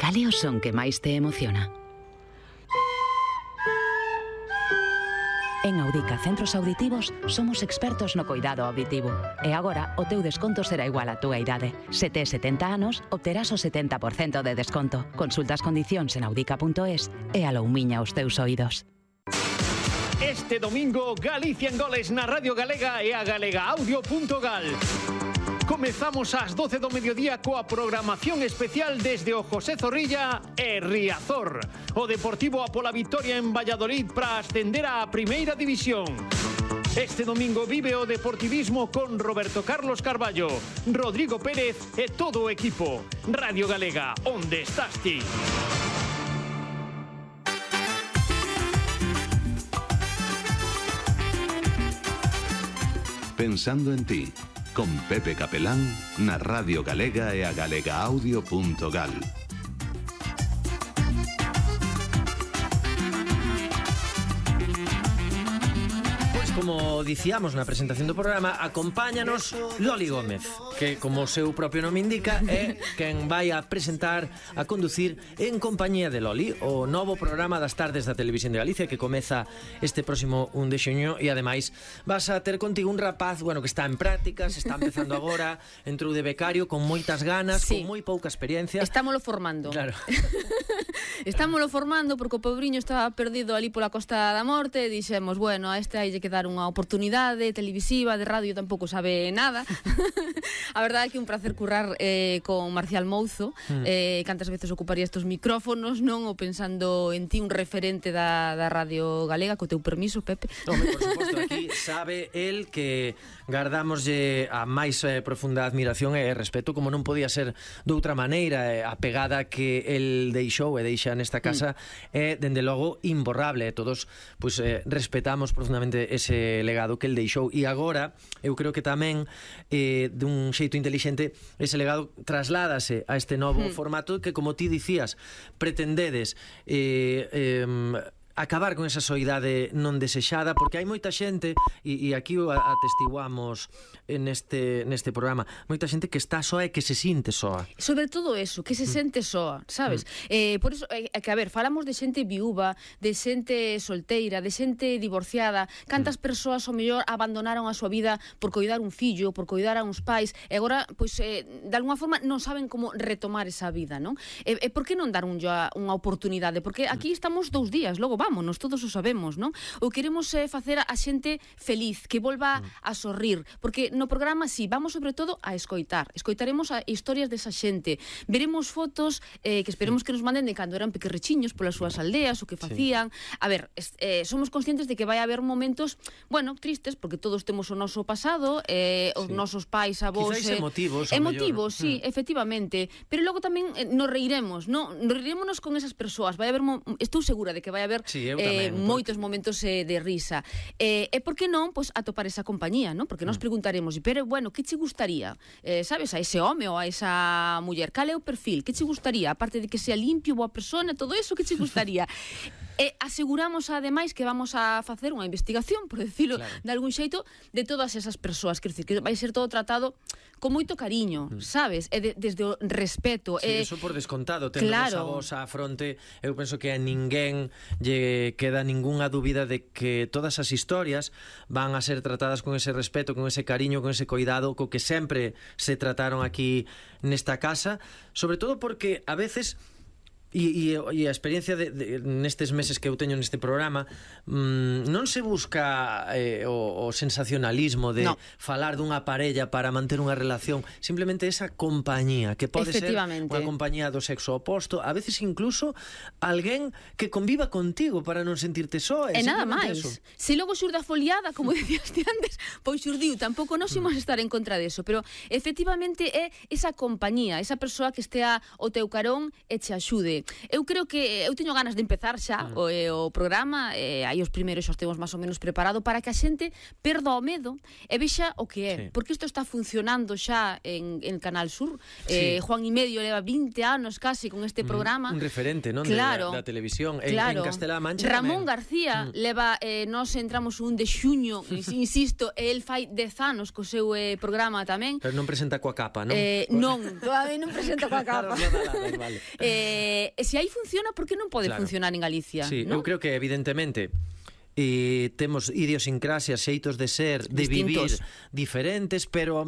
cal é o son que máis te emociona? En Audica Centros Auditivos somos expertos no coidado auditivo. E agora o teu desconto será igual á túa idade. Se tes 70 anos, obterás o 70% de desconto. Consulta as condicións en audica.es e aloumiña os teus oídos. Este domingo, Galicia en goles na Radio Galega e a galegaaudio.gal. Comezamos ás 12 do mediodía coa programación especial desde o José Zorrilla e Riazor. O Deportivo a pola vitoria en Valladolid para ascender á Primeira División. Este domingo vive o deportivismo con Roberto Carlos Carballo, Rodrigo Pérez e todo o equipo. Radio Galega, onde estás ti? Pensando en ti, con Pepe Capelán na Radio Galega e a galegaaudio.gal. Como dicíamos na presentación do programa, acompáñanos Loli Gómez, que, como o seu propio nome indica, é quen vai a presentar, a conducir en compañía de Loli o novo programa das tardes da Televisión de Galicia que comeza este próximo 1 de xuño. E ademais vas a ter contigo un rapaz, bueno, que está en prácticas, está empezando agora, entrou de becario con moitas ganas, sí, con moi pouca experiencia. Estámolo formando. Claro. Estámolo formando porque o pobriño estaba perdido ali pola Costa da Morte e dixemos, bueno, a este hai que dar unha oportunidade televisiva, de radio tampouco sabe nada. A verdade é que é un placer currar con Marcial Mouzo. Cantas veces ocuparía estes micrófonos, non? Ou pensando en ti, un referente da Radio Galega, co teu permiso, Pepe. Home, por suposto, aquí sabe el que gardamoslle a máis profunda admiración e respeto, como non podía ser de outra maneira. A pegada que el deixou e deixa nesta casa é, dende logo, imborrable. Todos, pois, respetamos profundamente ese legado que el deixou. E agora, eu creo que tamén, dun xeito intelixente, ese legado trasládase a este novo formato que, como ti dicías, pretendedes acabar con esa soidade non desexada, porque hai moita xente, e aquí o atestiguamos neste programa, moita xente que está soa e que se sinte soa. Sobre todo eso, que se sente soa, sabes? Por iso, que a ver, falamos de xente viúva, de xente solteira, de xente divorciada. Cantas persoas, ao mellor, abandonaron a súa vida por coidar un fillo, por coidar a uns pais, e agora, pois, de alguna forma, non saben como retomar esa vida, non? E por que non dar unha oportunidade? Porque aquí estamos 2 días, logo vámonos, todos o sabemos, non? O queremos facer a xente feliz, que volva a sorrir, porque no programa, sí, vamos sobre todo a escoitaremos a historias desa xente, veremos fotos que esperemos que nos manden de cando eran pequerrechiños polas súas aldeas, o que facían. A ver, somos conscientes de que vai haber momentos, bueno, tristes, porque todos temos o noso pasado, os nosos pais, avós, quizás emotivos, sí, efectivamente, pero logo tamén nos reiremos, non? Nos reirémonos con esas persoas. Vai haber, estou segura de que vai haber moitos momentos de risa. E por que non, pois, atopar esa compañía, non? Porque nos preguntaremos, pero, bueno, que che gustaría? Sabes, a ese home ou a esa muller, cal é o perfil? Que che gustaría? Aparte de que sea limpio, boa persona, todo eso, que che gustaría? E aseguramos, ademais, que vamos a facer unha investigación, por decirlo de algún xeito, de todas esas persoas. Quer dizer, que vai ser todo tratado con moito cariño, sabes? E desde o respeto. Sí, eso por descontado. Tendo a vos á fronte, eu penso que a ninguén lle queda ningunha dúbida de que todas as historias van a ser tratadas con ese respeto, con ese cariño, con ese cuidado, co que sempre se trataron aquí nesta casa, sobre todo porque a veces... E a experiencia nestes meses que eu teño neste programa, non se busca o sensacionalismo de falar dunha parella para manter unha relación, simplemente esa compañía, que pode ser unha compañía do sexo oposto, a veces incluso alguén que conviva contigo para non sentirte soa. E nada máis. Se logo xurde a foliada, como decías antes, pois xurdiu, tampouco nos imos estar en contra deso, pero efectivamente é esa compañía, esa persoa que estea ao teu carón e che axude. eu creo que eu teño ganas de empezar xa o programa, aí os primeiros xa os temos máis ou menos preparado para que a xente perda o medo e vexa o que é, porque isto está funcionando xa en Canal Sur. Juan y Medio leva 20 anos casi con este programa. Un referente, non? Claro, da televisión. Claro. En Castela-La Mancha Ramón tamén. García leva, nos entramos un de xuño, insisto, el fai 10 anos co seu programa tamén. Pero non presenta coa capa, non? Non, todavía non presenta coa capa. Vale. Se aí funciona, por que non pode funcionar en Galicia? Sí, ¿no? eu creo que evidentemente temos idiosincrasias, xeitos de ser, de distintos, vivir diferentes, pero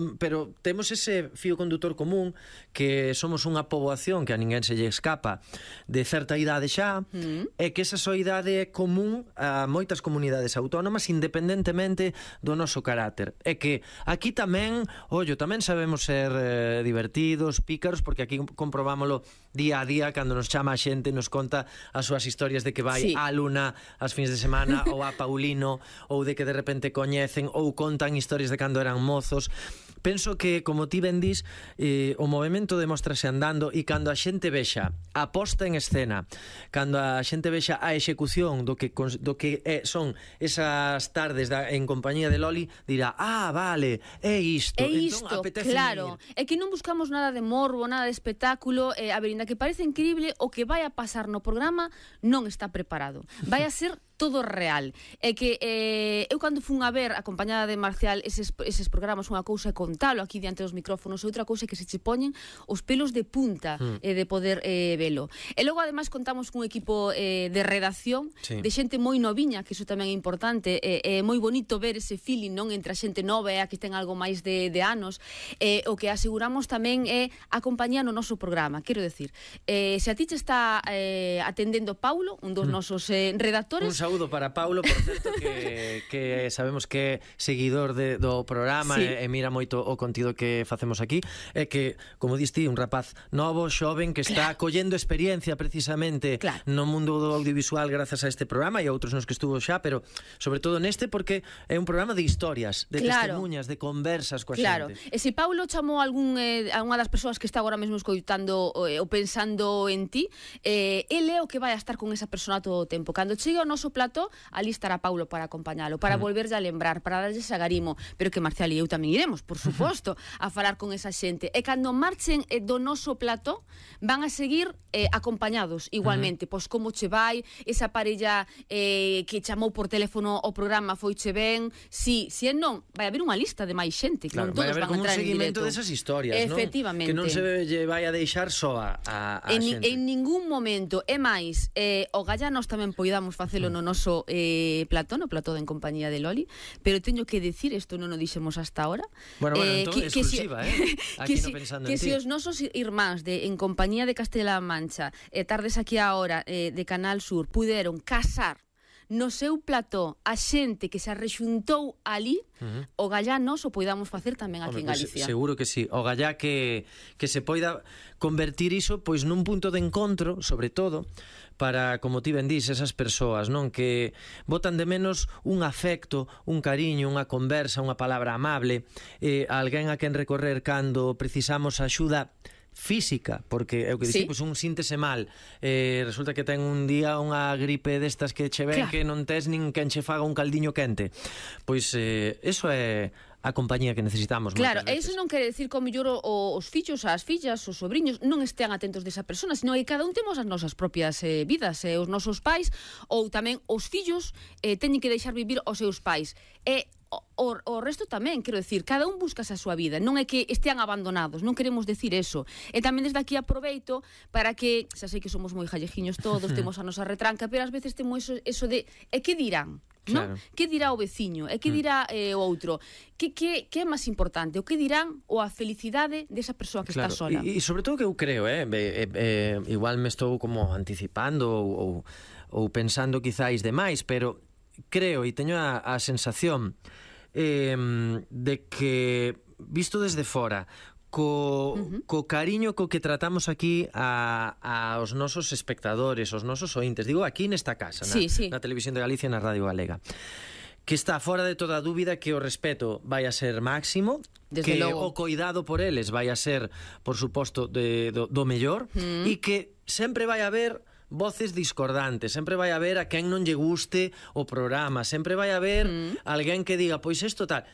temos ese fío condutor común que somos unha poboación que a ninguén se lle escapa de certa idade xa, e que esa soidade é común a moitas comunidades autónomas independentemente do noso carácter. É que aquí tamén, tamén sabemos ser divertidos, pícaros, porque aquí comprobámoslo día a día cando nos chama a xente, nos conta as súas historias de que vai á Luna as fins de semana ou a Paulino, ou de que de repente coñecen ou contan historias de cando eran mozos. Penso que, como ti ben dis, o movimento demóstrase andando, e cando a xente vexa a posta en escena, cando a xente vexa a execución do que son esas tardes en compañía de Loli, dirá, vale, é isto. É isto, entón, claro. É que non buscamos nada de morbo, nada de espectáculo. A ver, inda que parece increíble, o que vai a pasar no programa non está preparado. Vai a ser todo real. É que eu cando fun a ver, acompañada de Marcial, eses programas, unha cousa é contalo aquí diante dos micrófonos, e outra cousa é que se che poñen os pelos de punta de poder velo. E logo, ademais, contamos cun equipo de redacción, de xente moi noviña, que iso tamén é importante. É moi bonito ver ese feeling, non, entre a xente nova e a que ten algo máis de anos. O que aseguramos tamén é a compañía no noso programa. Quero decir, se a ti te está atendendo Paulo, un dos nosos redactores... Un saúdo para Paulo, por certo, que sabemos que é seguidor do programa e mira moito o contido que facemos aquí, e que, como diste, un rapaz novo, xoven, que está collendo experiencia precisamente no mundo do audiovisual grazas a este programa e a outros nos que estuvo xa, pero sobre todo neste, porque é un programa de historias, de testemunhas, de conversas coa xente. E se Paulo chamou a unha das persoas que está agora mesmo escoitando ou pensando en ti, ele é o que vai a estar con esa persona todo o tempo. Cando chegue ao noso plató, ali estará Paulo para acompañalo, para volverlle a lembrar, para darlle ese agarimo, pero que Marcial e eu tamén iremos, por suposto, a falar con esa xente. E cando marchen do noso plató, van a seguir acompañados igualmente, pois como che vai, esa parella que chamou por teléfono o programa foiche ben, si non, vai haber unha lista de máis xente, que non todos van a entrar en directo. Vai haber como un seguimento desas historias, efectivamente, que non se vai a deixar soa a xente. En ningún momento, é máis, o Gallanos tamén poidamos facelo no noso plató, no plató de En Compañía de Loli, pero teño que decir, isto non o dixemos hasta ahora, bueno, entón, exclusiva, aquí no pensando en ti. Que se os nosos irmáns de En Compañía de Castela-La Mancha, tardes aquí a hora de Canal Sur, puderon casar no seu plató a xente que se arrexuntou ali, o gallá nos o poidamos facer tamén aquí en Galicia. Seguro que sí. O gallá que se poida convertir iso pois nun punto de encontro, sobre todo, para, como ti ben dís, esas persoas, non, que botan de menos un afecto, un cariño, unha conversa, unha palabra amable, alguén a quen recorrer cando precisamos axuda física, porque é o que dixi, pois un síntese mal, resulta que ten un día unha gripe destas que che ven, que non tes nin quen che faga un caldiño quente, pois eso é a compañía que necesitamos. Claro, e iso non quere decir que o mellor os fillos, as fillas, os sobriños non estean atentos desa persona, sino que cada un temos as nosas propias vidas, os nosos pais, ou tamén os fillos teñen que deixar vivir os seus pais. E o resto tamén, quero decir, cada un busca a súa vida, non é que estean abandonados, non queremos decir eso. E tamén desde aquí aproveito para que, xa sei que somos moi jallejiños todos, temos a nosa retranca, pero ás veces temos eso de, que dirán? Claro. ¿No? Que dirá o veciño? E que dirá o outro? Que é máis importante? O que dirán ou a felicidade desa persoa que está sola? E sobre todo que eu creo, igual me estou como anticipando ou pensando quizáis demais, pero creo e teño a sensación de que, visto desde fora, co cariño co que tratamos aquí aos nosos espectadores, aos nosos ointes, digo aquí nesta casa, na Televisión de Galicia e na Radio Galega, que está fora de toda dúbida que o respeto vai a ser máximo, que o coidado por eles vai a ser, por suposto, do mellor, e que sempre vai haber voces discordantes, sempre vai haber a quen non lle guste o programa, sempre vai haber alguén que diga, pois isto tal,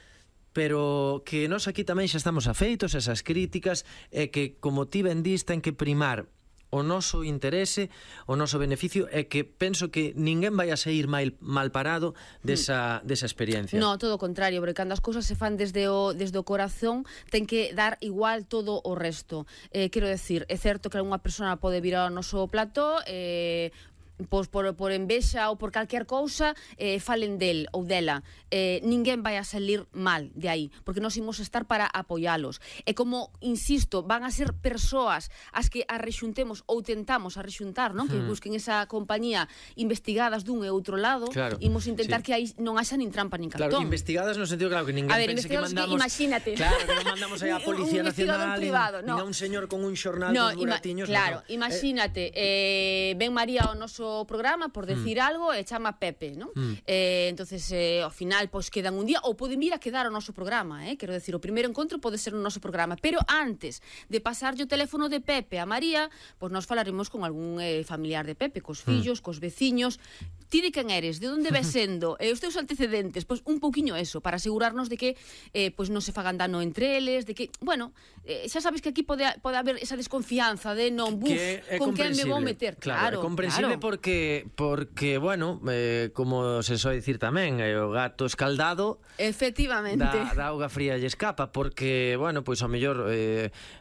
pero que nós aquí tamén xa estamos afeitos a esas críticas, e que, como ti ben dis, ten que primar o noso interese, o noso beneficio, é que penso que ninguén vai a sair mal parado desa experiencia. No, todo o contrario, porque cando as cousas se fan desde o corazón, ten que dar igual todo o resto. Quero decir, é certo que unha persona pode vir ao noso plató, pois por envexa ou por calquer cousa falen del ou dela, ninguén vai a salir mal de aí, porque nós imos estar para apoialos. E como, insisto, van a ser persoas as que arrexuntemos ou tentamos arrexuntar, non? Que busquen esa compañía, investigadas dun e outro lado, imos intentar que aí non haxa nin trampa nin cartón. Claro, investigadas no sentido, claro, que ninguén pense que mandamos... Imagínate. Claro, que non mandamos aí a Policía Nacional, nin a un señor con un xornal dos buratiños. Claro, imagínate, ven María ao noso programa por decir algo e chama Pepe, non? Entonces, ao final, pois quedan un día, ou poden vir a quedar ao noso programa, quero decir, o primeiro encontro pode ser no noso programa, pero antes de pasarlle o teléfono de Pepe a María, pois nós falaremos con algún familiar de Pepe, cos fillos, cos veciños. Ti de quen eres, de onde ves sendo, os teus antecedentes, pois un pouquiño eso, para asegurarnos de que pois non se fagan dano entre eles, de que, bueno, xa sabes que aquí pode haber esa desconfianza de non, con quen me vou meter. Claro, é comprensible porque, bueno, como se soe dicir tamén, o gato escaldado efectivamente da auga fría lle escapa, porque, bueno, pois ao mellor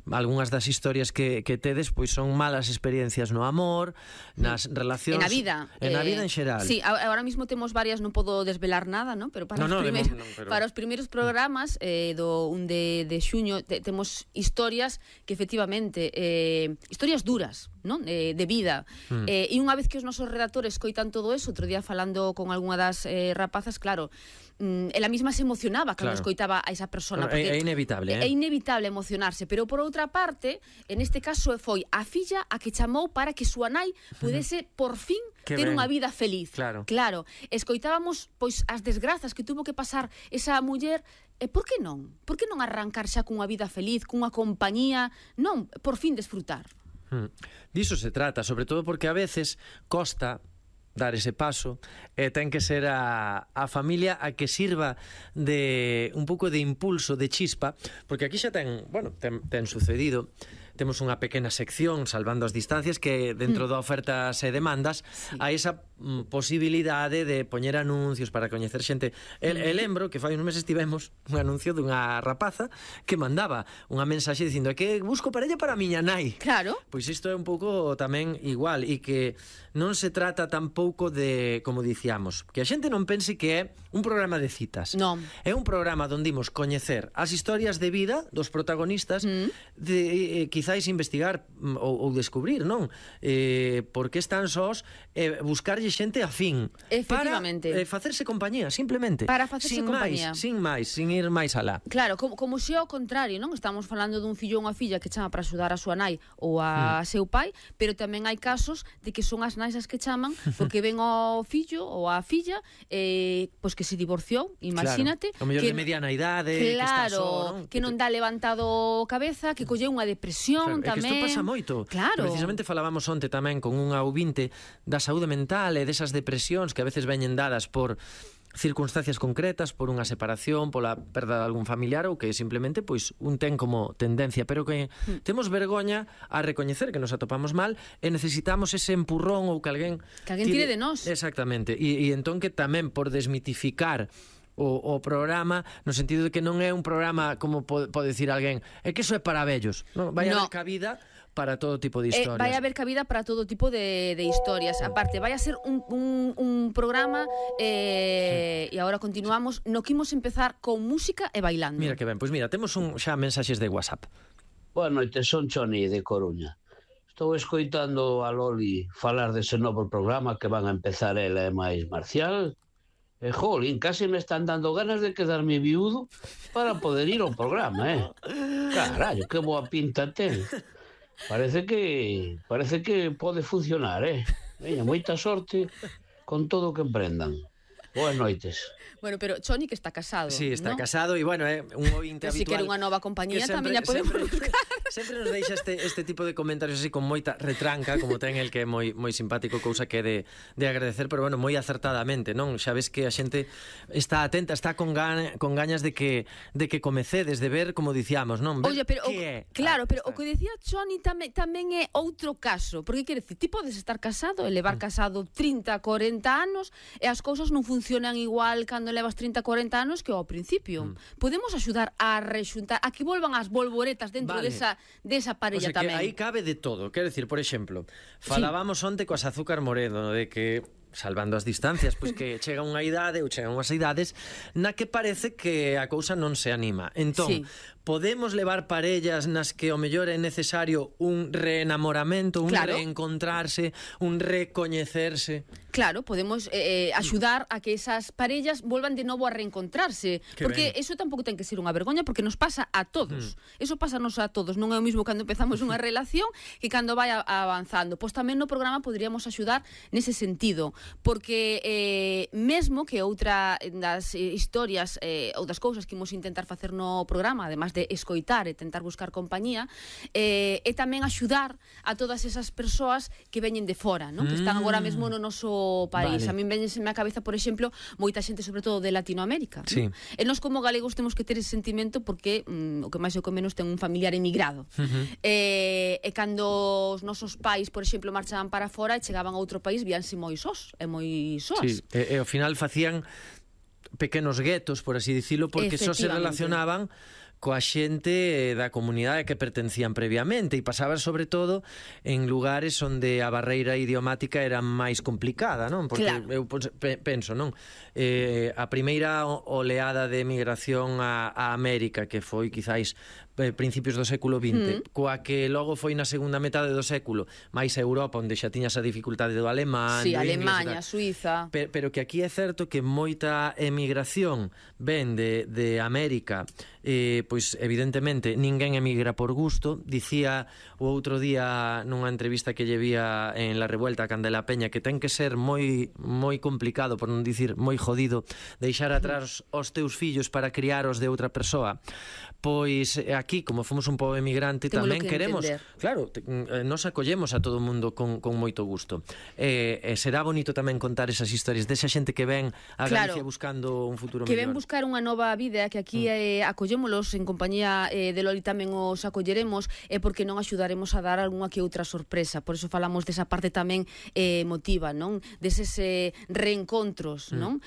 algunhas das historias que tedes pois son malas experiencias no amor, nas relacións, en a vida en xeral. Sí, ahora mismo temos varias, non podo desvelar nada, ¿no? Pero para os primeiros programas do 1 de xuño temos historias que efectivamente historias duras, ¿no? De vida. E unha vez que os nosos redactores coitan todo eso, outro día falando con algunha das rapazas, claro, ela mesma se emocionaba cando escoitaba a esa persona, porque é inevitable, é inevitable emocionarse, pero por outra parte, en este caso foi a filla a que chamou para que súa nai pudese por fin ter unha vida feliz. Claro, escoitábamos pois as desgrazas que tuvo que pasar esa muller. E por que non? Por que non arrancar xa cunha vida feliz, cunha compañía, non, por fin desfrutar? Diso se trata, sobre todo porque a veces costa dar ese paso, e ten que ser a familia a que sirva de un pouco de impulso, de chispa, porque aquí xa ten sucedido. Temos unha pequena sección, salvando as distancias, que dentro da ofertas e demandas hai esa posibilidade de poñer anuncios para coñecer xente. E lembro que fai uns meses tivemos un anuncio dunha rapaza que mandaba unha mensaxe dicindo que busco parella para a miña nai. Claro. Pois isto é un pouco tamén igual, e que non se trata tampouco de, como dicíamos, que a xente non pense que é un programa de citas. Non. É un programa onde imos coñecer as historias de vida dos protagonistas, de quizáis investigar ou descubrir, non? Por que están sós, buscarlle xente afín. Efectivamente. Para facerse compañía, simplemente. Para facerse compañía. Sin ir máis alá. Claro, como se ao contrario, non? Estamos falando dun fillo ou unha filla que chama para axudar a súa nai ou a seu pai, pero tamén hai casos de que son as nais as que chaman porque ven ao fillo ou a filla pois que se divorciou, imagínate. O mellor de mediana idade, que está só, non? Que non dá levantado cabeza, que colleu unha depresión tamén. É que isto pasa moito. Claro. Precisamente falábamos onte tamén con unha ouvinte da saúde mental e desas depresións que a veces veñen dadas por circunstancias concretas, por unha separación, pola perda de algún familiar, ou que simplemente pois un ten como tendencia, pero que temos vergoña a recoñecer que nos atopamos mal e necesitamos ese empurrón ou que alguén tire de nós. Exactamente. E entón que tamén por desmitificar o programa, no sentido de que non é un programa como pode decir alguén, é que iso é para vellos, non? Vai haber cabida para todo tipo de historias. Vai haber cabida para todo tipo de historias. Aparte, vai a ser un programa e agora continuamos, no que imos empezar con música e bailando. Mira que ben, pois mira, temos xa mensaxes de WhatsApp. Boa noite, son Choni de Coruña. Estou escoitando a Loli falar dese novo programa que van a empezar ela e máis Marcial. E, jolín, casi me están dando ganas de quedarme viudo para poder ir ao programa, Carallo, que boa pinta ten. Parece que pode funcionar, Veña, moita sorte con todo o que emprendan. Boas noites. Bueno, pero Choni que está casado. Sí, está ¿no? casado e, bueno, un ointe habitual. Si quere unha nova compañía tamén a podemos buscar. Sempre nos deixa este tipo de comentarios así con moita retranca, como ten el que é moi simpático, cousa que é de agradecer, pero, bueno, moi acertadamente, non? Xa ves que a xente está atenta, está con gañas de que comecedes, de ver, como dicíamos, non? Ver. Oye, pero claro, pero o que decía Choni tamén é outro caso, porque quere dicir, ti podes estar casado e levar casado 30, 40 anos e as cousas non funcionan igual cando levas 30, 40 anos que ao principio. Podemos axudar a rexuntar, a que volvan as bolboretas dentro desa parella tamén. Que aí cabe de todo, quero dicir, por exemplo, falábamos onte coas Azúcar Moredo de que salvando as distancias, pois que chega unha idade ou chegan unhas idades na que parece que a cousa non se anima. Entón, podemos levar parellas nas que o mellor é necesario un reenamoramento, un reencontrarse, un recoñecerse. Claro, podemos axudar a que esas parellas volvan de novo a reencontrarse, porque eso tampouco ten que ser unha vergoña, porque nos pasa a todos. Eso pásanos a todos, non é o mismo cando empezamos unha relación que cando vai avanzando. Pois tamén no programa poderíamos axudar nese sentido, porque mesmo que outra das historias ou das cousas que imos intentar facer no programa, además de escoitar e tentar buscar compañía, é tamén axudar a todas esas persoas que veñen de fora, non? Que están agora mesmo no noso país. A min veñeseme a cabeza, por exemplo, moita xente, sobre todo de Latinoamérica. Sí. E nós como galegos temos que ter ese sentimento porque o que máis ou que menos ten un familiar emigrado. E cando os nosos pais, por exemplo, marchaban para fora e chegaban a outro país, víanse moi sós e moi soas. Sí, e ao final facían pequenos guetos, por así dicilo, porque só se relacionaban coa xente da comunidade que pertencían previamente e pasaban sobre todo en lugares onde a barreira idiomática era máis complicada, non? Porque eu penso, non? A primeira oleada de emigración a América, que foi quizáis principios do século XX, coa que logo foi na segunda metade do século máis a Europa, onde xa tiñas a dificultade do alemán, sí, Alemanha, Suiza, pero que aquí é certo que moita emigración ven de América, pois evidentemente ninguén emigra por gusto. Dicía o outro día nunha entrevista que lle vía en La Revuelta a Candela Peña que ten que ser moi complicado, por non dicir moi jodido, deixar atrás os teus fillos para criaros de outra persoa. Pois aquí, como fomos un pobo emigrante, tamén queremos, claro, nos acollemos a todo o mundo con moito gusto. Será bonito tamén contar esas historias desa xente que ven a Galicia buscando un futuro mellor. Que ven buscar unha nova vida, que aquí acollémolos en compañía de Loli, tamén os acolleremos, porque non axudaremos a dar algunha que outra sorpresa. Por eso falamos desa parte tamén emotiva, non? Deses reencontros, non?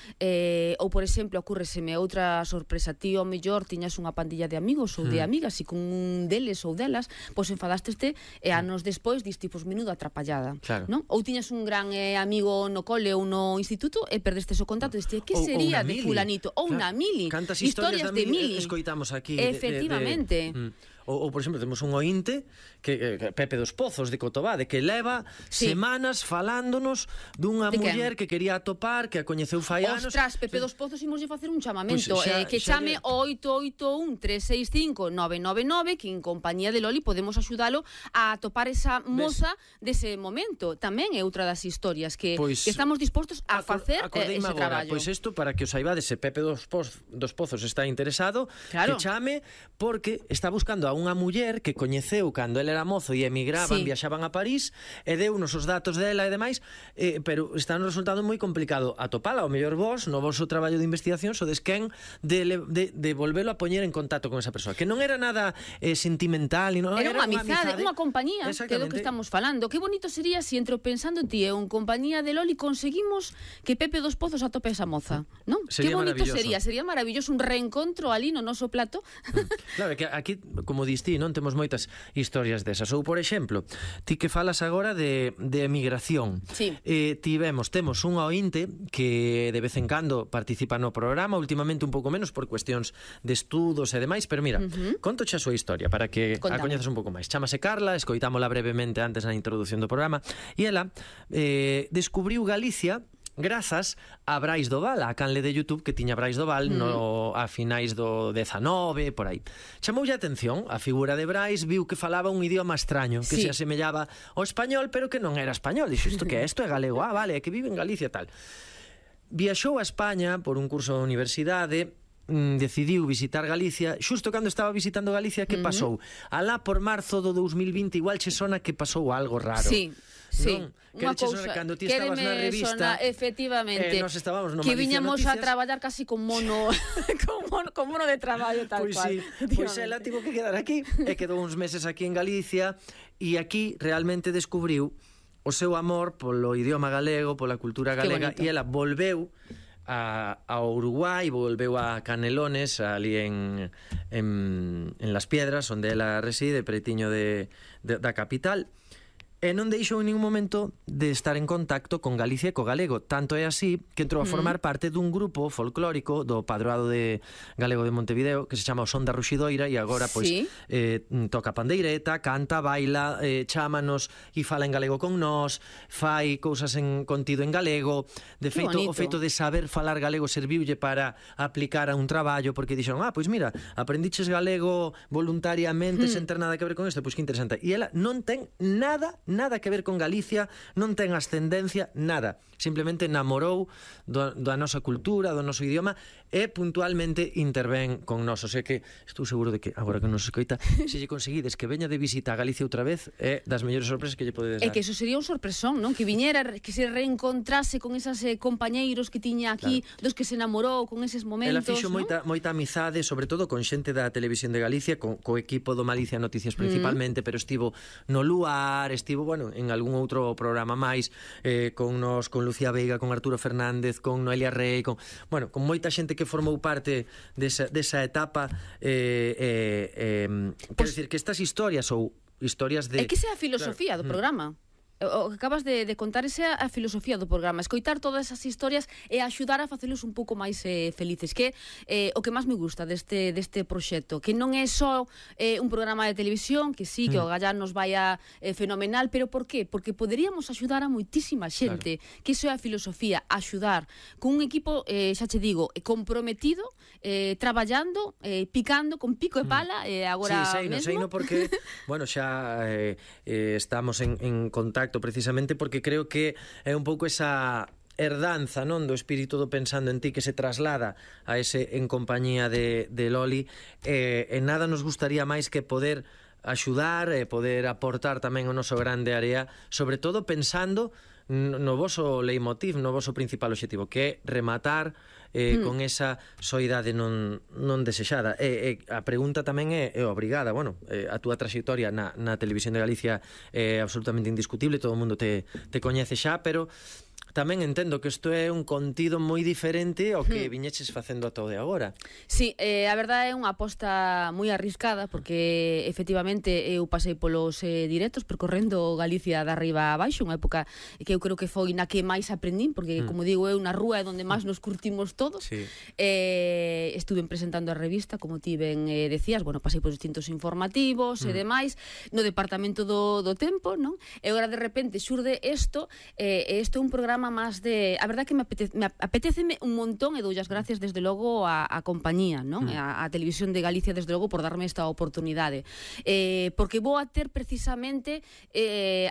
Ou, por exemplo, ocurreseme outra sorpresa. Ti, ao mellor, tiñas unha pandilla de amigos ou de amigas e con un deles ou delas, pois enfadasteste e anos despois diste, pois, menudo atrapallada, non? Ou tiñas un gran amigo no cole ou no instituto e perdestes o contacto e diste, que sería de fulanito? Ou na Mili. Cantas historias de Mili escoitamos aquí. Efectivamente. Ou, por exemplo, temos un ointe que Pepe dos Pozos de Cotobade, que leva semanas falándonos dunha muller que quería atopar, que a coñeceu fai anos. Ostras, Pepe dos Pozos imoslle facer un chamamento, que chame o 881-365-999, que en compañía de Loli podemos axudalo a atopar esa moza dese momento. Tamén é outra das historias que estamos dispostos a facer ese traballo. Pois isto, para que os saibades, se Pepe dos Pozos está interesado, que chame, porque está buscando a unha muller que coñeceu cando ele era mozo e emigraban, viaxaban a París, e deu-nos os datos dela e demais, pero está un resultado moi complicado atopala. O mellor vos, no vosso traballo de investigación, sodes quen de volvelo a poñer en contacto con esa persoa, que non era nada sentimental, era unha amizade, unha compañía, que é do que estamos falando. Que bonito sería se entre o Pensando en Ti e en compañía de Loli conseguimos que Pepe dos Pozos atope esa moza, non? Que bonito sería maravilloso un reencontro ali no noso plato. Claro, que aquí, como dís ti, non temos moitas historias desas. Ou, por exemplo, ti que falas agora de emigración. Temos un ointe que de vez en cando participa no programa, últimamente un pouco menos por cuestións de estudos e demais, pero mira, conto xa a súa historia para que a coñezas un pouco máis. Chámase Carla, escoitámola brevemente antes na introducción do programa, e ela descubriu Galicia grazas a Brais Doval, a canle de YouTube que tiña Brais Doval a finais do 19, por aí. Chamoulle a atención a figura de Brais, viu que falaba un idioma extraño, que se asemellaba ao español, pero que non era español. Dixo, isto que é? Isto é galego. Ah, vale, é que vive en Galicia, tal. viaxou a España por un curso da universidade, decidiu visitar Galicia. Xusto cando estaba visitando Galicia, que pasou? Alá por marzo do 2020 igual che sona que pasou algo raro. Sí. Non? Que che sona cando ti estabas na revista, efectivamente, nos estábamos no que Malicia viñamos Noticias a traballar casi con mono con mono de traballo tal pois cual. Sí, pois ela tivo que quedar aquí e quedou uns meses aquí en Galicia, e aquí realmente descubriu o seu amor polo idioma galego, pola cultura galega, e ela volveu a Uruguai, volveu a Canelones, ali en Las Piedras, onde ela reside, pretiño da capital, e non deixou en ningún momento de estar en contacto con Galicia e co galego. Tanto é así que entrou a formar parte dun grupo folclórico do Padroado de Galego de Montevideo que se chama o Son da Ruxidoira, e agora pois toca pandeireta, canta, baila, chámanos e fala en galego con nós, fai cousas en contido en galego. De feito, o feito de saber falar galego serviulle para aplicar a un traballo, porque dixeron, pois mira, aprendiches galego voluntariamente sen ter nada que ver con isto, pois que interesante. E ela non ten nada que ver con Galicia, non ten ascendencia, nada. Simplemente namorou da nosa cultura, do noso idioma, e puntualmente intervén con nós. O sea que estou seguro de que, agora que nos escoita, se lle conseguides que veña de visita a Galicia outra vez, é das mellores sorpresas que lle podedes dar. É que eso sería un sorpresón, non? Que viñera, que se reencontrase con esas compañeiros que tiña aquí, dos que se namorou con eses momentos. Ela fixo moita amizade, sobre todo con xente da Televisión de Galicia, co equipo do Malicia Noticias principalmente, pero estivo no Luar, estivo, bueno, en algún outro programa máis, con Lucía Veiga, con Arturo Fernández, con Noelia Rey, con moita xente que formou parte desa etapa. Quero dicir que estas historias ou historias de... É que esa é a filosofía do programa. O que acabas de contar, esa é a filosofía do programa, escoitar todas esas historias e axudar a facelos un pouco máis felices, que é o que máis me gusta deste proxecto, que non é só un programa de televisión, que sí, que o Gallán nos vaya fenomenal, pero por qué? Porque poderíamos axudar a moitísima xente, que iso é a filosofía, axudar con un equipo, xa che digo, comprometido, traballando, picando con pico e pala, agora mesmo. Sí, seino porque, bueno, xa estamos en contacto precisamente porque creo que é un pouco esa herdanza, non, do espírito do Pensando en Ti que se traslada a ese En compañía de Loli, e nada nos gustaría máis que poder axudar e poder aportar tamén o noso grande área, sobre todo pensando no voso leitmotiv, no voso principal obxectivo, que é rematar con esa soidade non desexada. A pregunta tamén é obrigada. Bueno, a túa traxectoria na Televisión de Galicia é absolutamente indiscutible, todo o mundo te coñece xa, pero tamén entendo que isto é un contido moi diferente ao que viñeches facendo ata o de agora. Sí, a verdade é unha aposta moi arriscada, porque efectivamente eu pasei polos directos percorrendo Galicia de arriba a baixo, unha época que eu creo que foi na que máis aprendín, porque como digo, eu na rúa é onde máis nos curtimos todos. Estuve presentando a revista, como ti ben decías, bueno, pasei por distintos informativos e demais, no departamento do tempo, non? E agora de repente xurde isto é un programa máis de... A verdade que me apeteceme un montón, e doulle as gracias desde logo a compañía, non? A Televisión de Galicia desde logo por darme esta oportunidade, porque vou a ter precisamente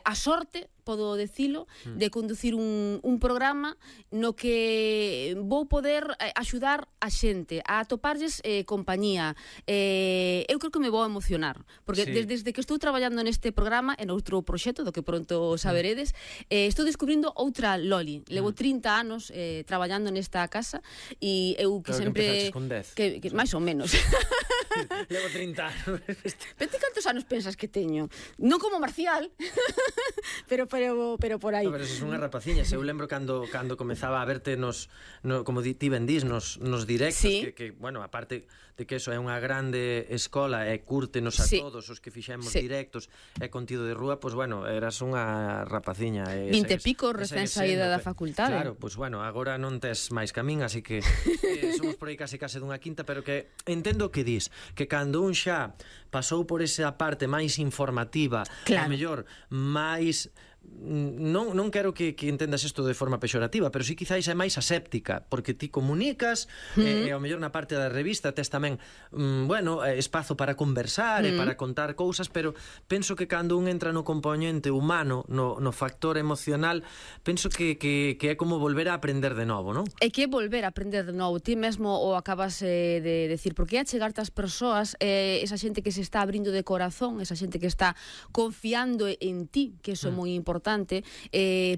a sorte, podo decilo, de conducir un programa no que vou poder axudar a xente a atoparlles compañía. Eu creo que me vou emocionar, porque desde que estou traballando neste programa e noutro proxecto do que pronto saberedes, estou descubrindo outra Loli. Levo 30 anos traballando nesta casa, e eu que sempre... Que máis ou menos. Levo 30 anos. Pero cantos anos pensas que teño? Non como Marcial, pero por aí. Pero eso é unha rapaciña. Eu lembro cando comezaba a verte como ti ben dís, nos directos, que, bueno, aparte de que eso é unha grande escola e curtenos a todos os que fixemos directos e contido de rúa, pois, bueno, eras unha rapaciña. 20 e pico recén saída da facultade. Claro, pois, bueno, agora non tes máis camín, así que somos por aí case dunha quinta, pero que entendo o que dís, que cando un xa pasou por esa parte máis informativa, a mellor máis non quero que entendas isto de forma pexorativa, pero sí quizáis é máis aséptica, porque ti comunicas e ao mellor na parte da revista tes tamén espazo para conversar e para contar cousas, pero penso que cando un entra no componente humano, no factor emocional, penso que é como volver a aprender de novo, non? É que é volver a aprender de novo. Ti mesmo o acabas de decir, porque é achegarte ás persoas, esa xente que se está abrindo de corazón, esa xente que está confiando en ti, que iso é moi importante,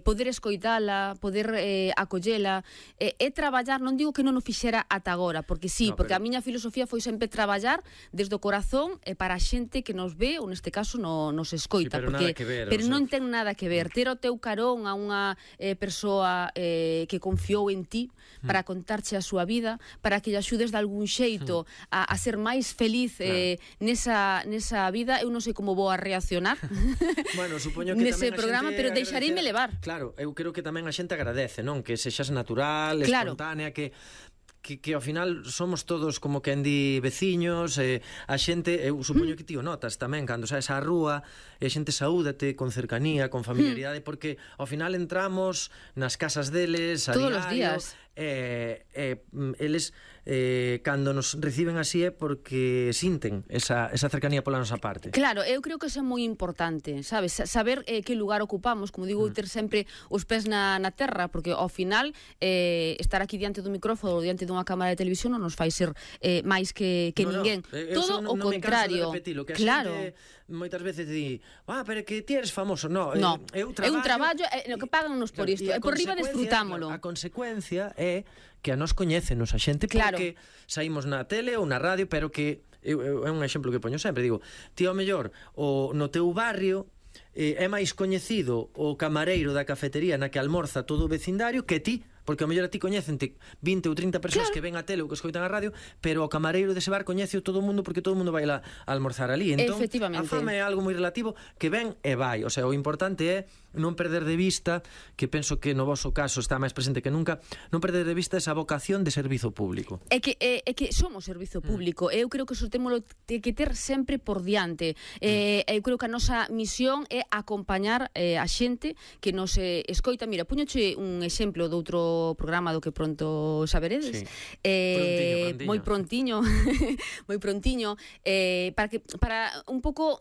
poder escoitala, poder acollela, é traballar, non digo que non o fixera ata agora, porque sí, porque a miña filosofía foi sempre traballar desde o corazón para a xente que nos ve, ou neste caso nos escoita, pero non ten nada que ver. Ter o teu carón a unha persoa que confiou en ti para contarche a súa vida, para que lle axudes de algún xeito a ser máis feliz nesa vida. Eu non sei como vou a reaccionar supoño que nese programa, pero deixareime levar. Claro, eu creo que tamén a xente agradece, non? Que sexas natural, espontánea, que ao final somos todos como quen di veciños, a xente, eu supoño que ti o notas tamén cando saes á rúa e a xente saúdate con cercanía, con familiaridade, porque ao final entramos nas casas deles a todos diario, os días. Eles cando nos reciben así é porque sinten esa cercanía pola nosa parte. Claro, eu creo que isso é moi importante, sabes? Saber que lugar ocupamos, como digo, ter sempre os pés na terra, porque ao final estar aquí diante do micrófono ou diante dunha cámara de televisión non nos fai ser máis que ninguén. Todo o contrario. Que claro. A xente moitas veces di, pero que ti eres famoso. No, é un traballo, no que pagan-nos por isto, e por riba desfrutámolo. A consecuencia é que a nos coñécenos a xente porque saímos na tele ou na radio, pero que é un exemplo que poño sempre, digo, ti ao mellor no teu barrio é máis coñecido o camareiro da cafetería na que almorza todo o vecindario que ti, porque ao mellor a ti coñécente 20 ou 30 persoas que ven a tele ou que escoitan a radio, pero o camareiro dese bar coñece todo o mundo porque todo o mundo vai a almorzar ali. Entón, a fama é algo moi relativo que ven e vai. O sea, o importante é non perder de vista, que penso que no voso caso está máis presente que nunca, non perder de vista esa vocación de servizo público. É que somos servizo público. Eu creo que iso témolo que ter sempre por diante. Eu creo que a nosa misión é acompañar a xente que nos escoita. Mira, puñoche un exemplo de outro programa do que pronto saberedes. Moi prontiño moi prontiño, para un pouco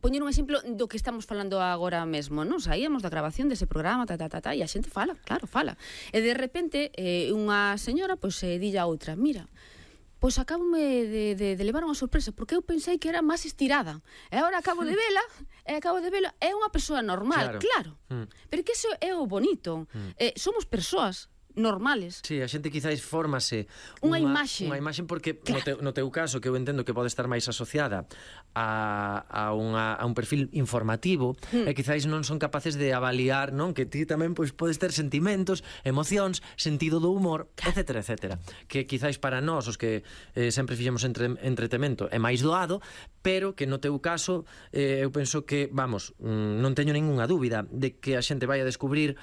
poñer un exemplo do que estamos falando agora mesmo, non? Saíamos da grabación dese programa, e a xente fala, claro, fala. E de repente unha señora dille a outra, mira, pois acabome de levar unha sorpresa, porque eu pensei que era máis estirada. E agora acabo de vela, é unha persoa normal, claro. Pero que iso é o bonito. Somos persoas normales. Sí, a xente quizáis fórmase unha imaxe porque no teu caso, que eu entendo que pode estar máis asociada a un perfil informativo, e quizáis non son capaces de avaliar, non, que ti tamén podes ter sentimentos, emocións, sentido do humor, etcétera, etcétera, que quizáis para nós, os que sempre fixemos entretemento, é máis doado, pero que no teu caso eu penso que, non teño ningunha dúbida de que a xente vai a descubrir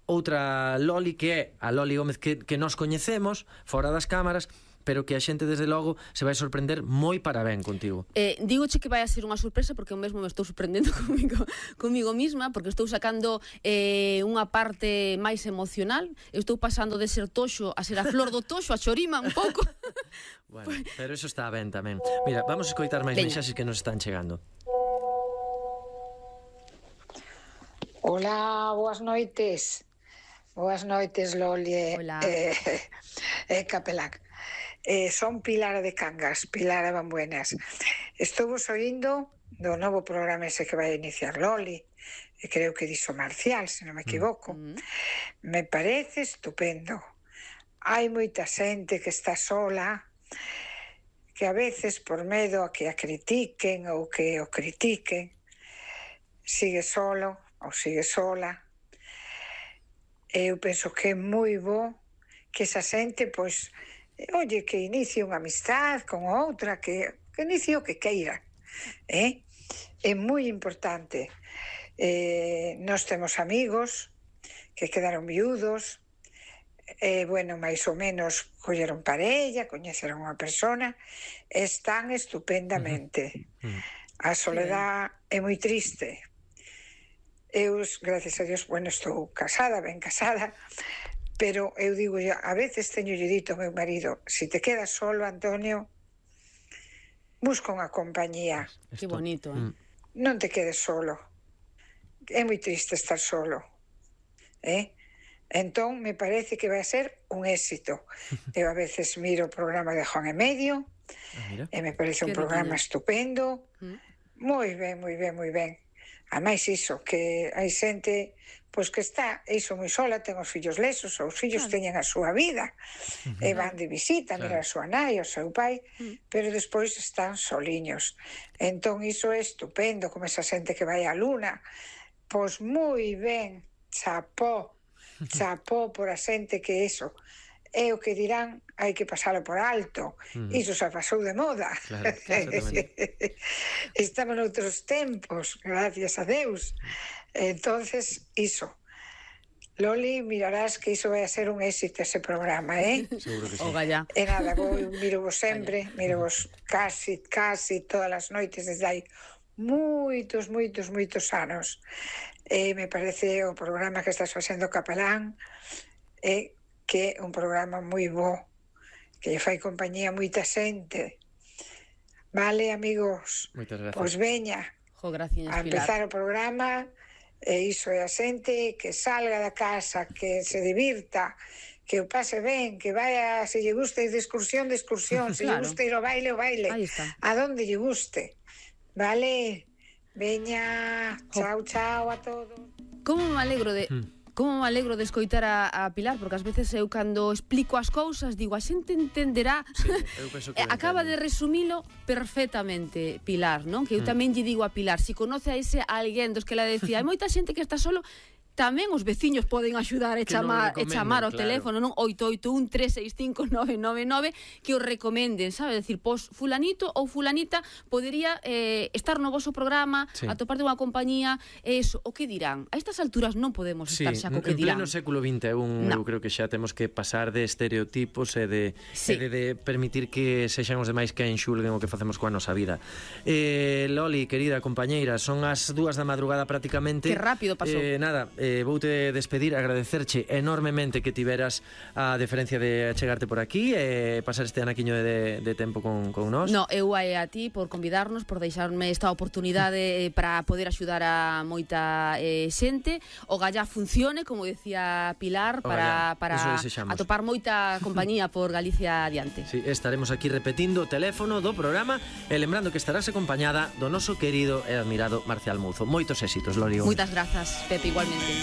outra Loli, que é a Loli Gómez que nos coñecemos fora das cámaras, pero que a xente desde logo se vai sorprender moi para ben contigo. Dígoche que vai a ser unha sorpresa, porque eu mesmo me estou sorprendendo comigo misma, porque estou sacando unha parte máis emocional. Eu estou pasando de ser toxo a ser a flor do toxo, a chorima un pouco. Bueno, pero eso está ben tamén. Mira, vamos a escoitar máis mensaxes que nos están chegando. Hola, boas noites. Boas noites, Loli Capelán. Son Pilar de Cangas, Pilar de Bambuenas. Estou vos oindo do novo programa ese que vai iniciar Loli, e creo que dixo Marcial, se non me equivoco. Me parece estupendo. Hai moita xente que está sola, que a veces por medo a que a critiquen ou que o critiquen, sigue solo ou sigue sola. Eu penso que é moi bo que esa xente, que inicie unha amistad con outra, que inicie o que queira. É moi importante. Nós temos amigos que quedaron viudos, máis ou menos colleron parella, coñeceron unha persona, están estupendamente. A soledad é moi triste. Eu, gracias a Dios, bueno, estou casada, ben casada, pero eu digo, a veces teño dito ao meu marido, si te quedas solo, Antonio, busca unha compañía. Que bonito, Non te quedes solo. É moi triste estar solo. Entón, me parece que vai a ser un éxito. Eu a veces miro o programa de Juan e Medio, e me parece un programa estupendo. Moi ben, moi ben, moi ben. Ademais, iso, que hai xente pois que está iso moi sola, ten os fillos lesos, os fillos teñen a súa vida, e van de visita, mira a súa nai, o seu pai, pero despois están soliños. Entón, iso é estupendo, como esa xente que vai á luna. Pois moi ben, chapó por a xente que iso. É o que dirán, hai que pasalo por alto. Iso xa pasou de moda. Estamos noutros tempos, gracias a Deus. Entonces, iso. Loli, mirarás que iso vai a ser un éxito ese programa, Seguro que sí. E nada, miro vos sempre, miro vos casi todas as noites desde hai moitos anos. Me parece o programa que estás facendo, Capelán, que é un programa moi bo, que lle fai compañía a moita xente. Vale, amigos? Moitas gracias. Pois veña, a empezar o programa, e iso é a xente que salga da casa, que se divirta, que o pase ben, que vaya, se lle gusta ir de excursión, se lle gusta ir ao baile, a donde lle guste. Vale? Veña, chao a todos. Como me alegro de escoitar a Pilar, porque ás veces eu cando explico as cousas digo, a xente entenderá. Eu penso que acaba de resumilo perfectamente, Pilar, non? Que eu tamén lle digo a Pilar, si conoce a ese alguén dos que la decía, hai moita xente que está solo, tamén os veciños poden axudar e chamar ao teléfono, non? 881-365-999, que os recomenden, sabe? Decir, pois fulanito ou fulanita podería estar no voso programa, atopar de unha compañía, eso, o que dirán? A estas alturas non podemos estar xa co que dirán. En pleno século XXI, eu creo que xa temos que pasar de estereotipos e de permitir que sexan os demais que enxulguen o que facemos coa nosa vida. Loli, querida compañeira, son as 2 da madrugada prácticamente. Que rápido pasou. Nada, voute despedir, agradecerche enormemente que tiveras a deferencia de achegarte por aquí e pasar este anaquiño de tempo con nós. No, eu hai a ti por convidarnos, por deixarme esta oportunidade para poder axudar a moita xente. O Gallá funcione, como decía Pilar, para atopar moita compañía por Galicia adiante. Sí, estaremos aquí repetindo o teléfono do programa e lembrando que estarás acompañada do noso querido e admirado Marcial Mouzo. Moitos éxitos, Lori. Moitas grazas, Pepe, igualmente.